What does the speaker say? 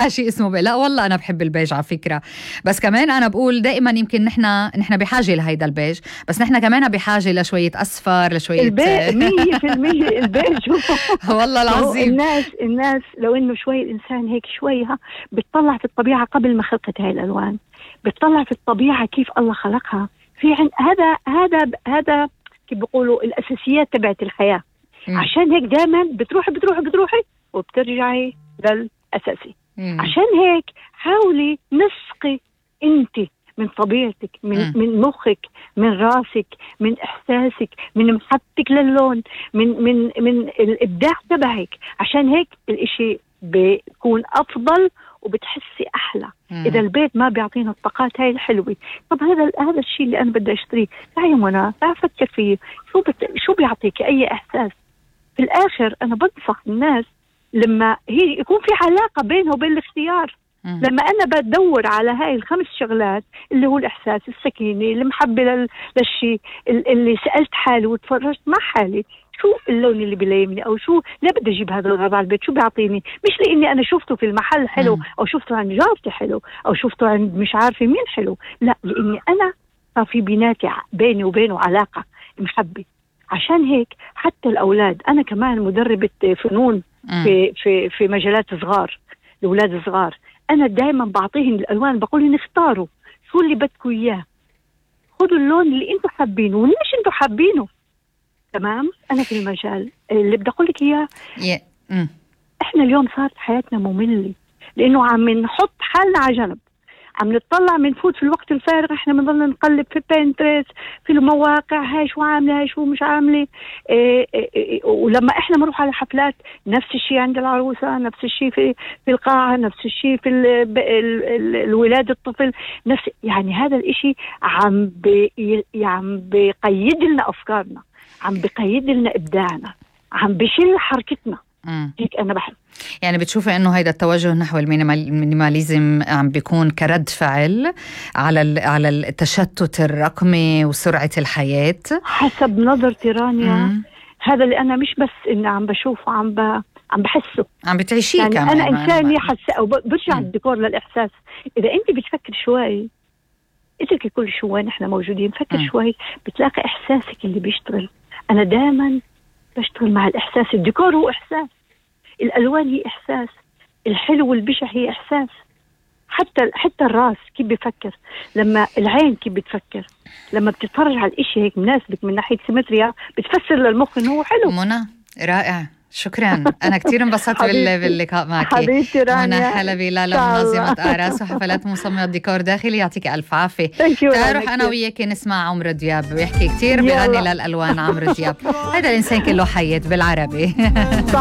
شيء اسمه لا والله أنا بحب البيج على فكرة. بس كمان أنا بقول دائما يمكن نحن بحاجة لهيدا البيج، بس نحن كمان بحاجة لشوية أصفر، لشوية 100% البيج. والله العظيم الناس لو إنه شوي الإنسان هيك شويها بتطلع في الطبيعة قبل ما خلقت هاي الألوان، بتطلع في الطبيعة كيف الله خلقها. في هذا كيف بيقولوا الأساسيات تبعت الحياة. عشان هيك دائما بتروحي وبترجعي للأساسي. عشان هيك حاولي نسقي انت من طبيعتك، من مخك، من راسك، من احساسك، من محبتك للون، من الابداع تبعك. عشان هيك الاشي بيكون افضل وبتحسي احلى. اذا البيت ما بيعطينا الطاقات هاي الحلوه، طب هذا الشيء اللي انا بدي اشتريه، تعي منى تعي فكر فيه، شو بيعطيك اي احساس. في الاخر انا بنصح الناس لما هي يكون في علاقة بينه وبين الاختيار. لما أنا بدور على هاي ال5 شغلات اللي هو الإحساس، السكينة، المحبة للشيء، اللي سألت حالي وتفرجت مع حالي شو اللون اللي بيلايمني، أو شو لا بدي أجيب هذا الغرض على البيت، شو بيعطيني، مش لأني أنا شفته في المحل حلو أو شفته عند جارتي حلو أو شفته عند مش عارفة مين حلو، لا لأني أنا صار في بيني وبينه علاقة محبة. عشان هيك حتى الأولاد، أنا كمان مدربة فنون في مجالات صغار، الأولاد صغار، أنا دائما بعطيهم الألوان، بقول اختاروا شو اللي بدكوا إياه، خذوا اللون اللي أنتوا حابينه وليش أنتوا حابينه. تمام. أنا في المجال اللي بدي أقول لك إياه إحنا اليوم صارت حياتنا مملة، لأنه عم نحط حالنا على جنب، عم نطلع منفوت في الوقت الفارغ، احنا بنضل نقلب في بينترست، في المواقع، هاي شو عامله هاي شو مش عامله. ولما احنا بنروح على حفلات نفس الشيء عند العروسه، نفس الشيء في القاعه، نفس الشيء في الولاد الطفل، نفس يعني هذا الاشي عم بيقيد لنا افكارنا، عم بيقيد لنا ابداعنا، عم بيشيل حركتنا. هيك أنا بحب. يعني بتشوفي إنه هيدا التوجه نحو المينيماليزم عم بيكون كرد فعل على التشتت الرقمي وسرعة الحياة؟ حسب نظرتي رانيا هذا اللي أنا مش بس إني عم بشوفه، عم بحسه، عم بتعيشيه يعني كمان. أنا إنساني حاسة أو برجع الديكور للإحساس. إذا أنت بتفكر شوي، اتركي كل شوي نحن موجودين، فكر شوي بتلاقي إحساسك اللي بيشتغل. أنا دائما بشتغل مع الإحساس. الديكور هو إحساس، الألوان هي إحساس، الحلو والبشع هي إحساس. حتى الراس كيف بيفكر، لما العين كيف بتفكر، لما بتتفرج على الإشي هيك مناسبك من ناحية سيمتريا، بتفسر للمخ إنه هو حلو. منى رائع، شكرا. أنا كتير انبسطت باللقاء معك. حبيبتي رانيا. منى حلبي، منظمة أعراس وحفلات مصممة ديكور داخلي، يعطيك ألف عافية. تعالوا أنا وياك نسمع عمرو دياب ويحكي كتير بغني للألوان. عمرو دياب هذا الإنسان كله حياة بالعربي.